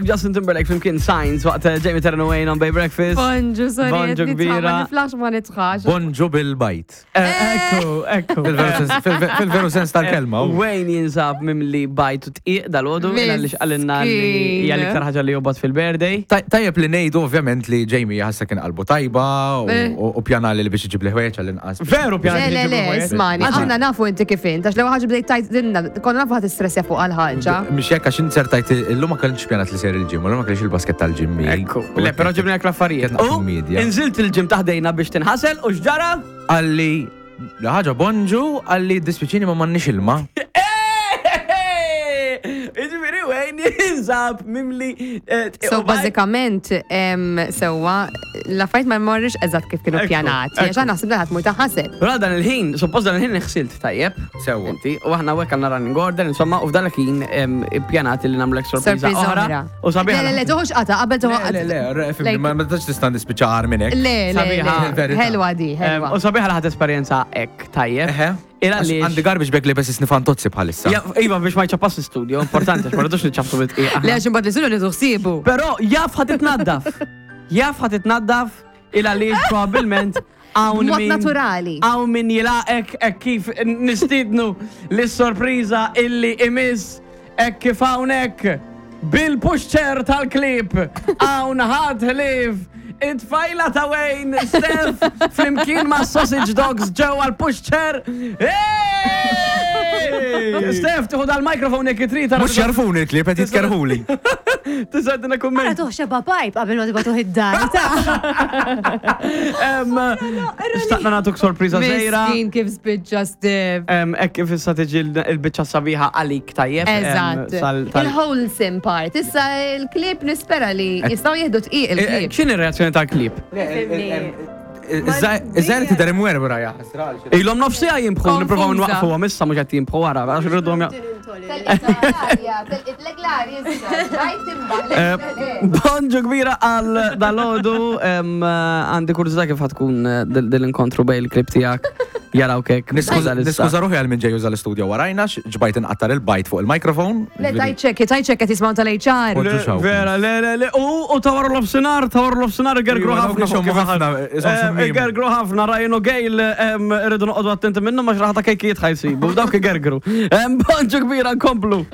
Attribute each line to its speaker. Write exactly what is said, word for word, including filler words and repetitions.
Speaker 1: Justin Timberlake flimkien Signs waqt eh, Jamie Terran Wayne on Bay Breakfast.
Speaker 2: Bonġu, sorry.
Speaker 1: Bonġu kbira.
Speaker 2: Ma niflax ma nitħax.
Speaker 3: Bonġu bil-bajt.
Speaker 1: Eh, Ekku, ekku.
Speaker 3: Fil-veru sens- fil- Fil-veru sens tal-kelma. u.
Speaker 1: Wayne jinsab mimli bajt u tqiq dal-ħodu, għalli xqalinna li
Speaker 2: Miskin.
Speaker 1: hija l-iktar ħaġa li jobgħod fil-birthday.
Speaker 3: Taj- Tajjeb li ngħidu ovvjament li Jamie ħassa kien qalbu tajba u-
Speaker 2: Eh.
Speaker 3: u u pjana li biex iġib li ħwejjeġ għall-inqas.
Speaker 1: Veru pjana
Speaker 2: Le,
Speaker 1: li
Speaker 2: le,
Speaker 1: ġibu
Speaker 2: le,
Speaker 1: ħwejjeġ.
Speaker 2: ismani,
Speaker 1: Anzi,
Speaker 2: aħna nafu inti kif int, għax l-ewwel ħaġa bdejt tajt dinna, konna nafu ħadd istressja fuq għal-ħaġa.
Speaker 3: Mhix hekk għax inzertajt illum ma kellix pjanat li ser il-gym, u llum ma kellix il-basket tal-gym. miegħi.
Speaker 1: Ekku, le, pero ġibna l-affarijiet.
Speaker 3: Kien
Speaker 1: U
Speaker 3: media.
Speaker 1: inżilt il-ġim taħdejna biex tinħasel u xġara?
Speaker 3: Għalli ħaġa bonġu, għalli dispiċini ma m'għandniex ilma.
Speaker 1: Iġifieri Wayne jinsab mimli. eh, tqiq
Speaker 2: So
Speaker 1: u bajt.
Speaker 2: bażikament em, sewwa l-affarijiet ma jmorrux eżatt kif kienu
Speaker 1: Ekku,
Speaker 2: pjanati, għax
Speaker 1: ekku.
Speaker 2: aħna ħsibna ħadd mur taħaseb.
Speaker 1: Però dan il-ħin, suppost dan il-ħin nħsilt tajjeb.
Speaker 3: Sewwa.
Speaker 1: Inti, u aħna hekk għandna running order, insomma, u f'dan il-ħin em, ippjanat li nagħmlek sorpriża
Speaker 2: Sorpriża
Speaker 1: oħra.
Speaker 2: oħra.
Speaker 1: U sabiħa.
Speaker 2: Le, le, le, toħux qata, qabel
Speaker 3: Le,
Speaker 2: toħu
Speaker 3: le, le, re, fimni, ma ma tax tista' nispiċċa għar minn hekk.
Speaker 2: Le, le,
Speaker 1: Sabiħa.
Speaker 2: le,
Speaker 3: Il-verità.
Speaker 2: ħelwa di,
Speaker 1: Em,
Speaker 2: ħelwa.
Speaker 1: U sabiħa li ħadd esperjenza hekk tajjeb.
Speaker 3: Eħe.
Speaker 1: Il
Speaker 3: Għax
Speaker 1: għaliex.
Speaker 3: Għandi garbage bag li bes isnifantozzi bħalissa.
Speaker 1: Ja, Iva biex ma jċappas l-studio, importanti, għax ma rridux niċċapsu bit-tqiq.
Speaker 2: Le, għax imbagħad li sulu nieħdu ħsiebu.
Speaker 1: Però jaf ħad titnaddaf. Jaf ħad titnaddaf il għaliex probabbilment hawn
Speaker 2: B'mod
Speaker 1: min-
Speaker 2: naturali.
Speaker 1: Hawn min jilaqek hekk kif nistidnu lis-sorpriża illi imiss hekk kif hawnhekk bil-pushchair tal-klip hawn ħadd ħlief it-tfajla ta' Wayne, Steph, flimkien ma' sausage dogs ġewwa l-pushchair. Hey! Steph, tieħu dal-mikrofon jekk trid. tara-
Speaker 3: Mux jarfuni l-klip, qed jitkerħuli.
Speaker 1: Tista' tina
Speaker 4: Ara
Speaker 1: kumment.
Speaker 4: tuħ xeba pajp qabel ma tibgħatuh id-dar. ta'
Speaker 1: Em, Xtaqna nagħtuk sorpriża żgħira.
Speaker 2: Miskin kif spiċċa Steve.
Speaker 1: Em, Hekk kif issa tiġi l- il-biċċa sabiħa għalik tajjeb. em,
Speaker 2: Eżatt.
Speaker 1: sal- tal-
Speaker 2: Il-wholesome part. Issa il-klip nispera li jistgħu jieħdu tqiq
Speaker 1: Eh, eh,
Speaker 2: il-klip.
Speaker 1: X'inhi r-reazzjoni tal-klip?
Speaker 3: Iż-żgħir tidher imwerwra ja ħasra.
Speaker 1: Ilhom nofsija jimbħu, nippruvaw
Speaker 2: Konfuża.
Speaker 1: nwaqfuhom issa mhux qed jimbħu wara, għax irridhom ja- Eh, Bonġu kbira għal dalodu, em, għandi kurżità kif ħatkun eh, dil- dil-inkontru bej il-klip tiegħek jaraw kek.
Speaker 3: Niskuża ruħi għal minn ġej juża l-istudio warajna, ġbajt inqattar il-bajt fuq il-mikrofon.
Speaker 2: Le, tajċek, tajċek qed jisimgħu tal-HR.
Speaker 3: Bonġu xaw.
Speaker 1: Vera, le, le, le, u u tawar l-ofsinar, tawar l-ofsinar, gergru
Speaker 3: Iva, dawk
Speaker 1: ħafna.
Speaker 3: ixommu
Speaker 1: kif
Speaker 3: ħafna, isom
Speaker 1: Eh,
Speaker 3: xummimu.
Speaker 1: Gergru ħafna, Ryan u Gail, em, irridu noqogħdu attenti minnhom għax raħta kejkijiet ħajsibu, dawk igergru. Em, Bonġu kbira, nkomplu.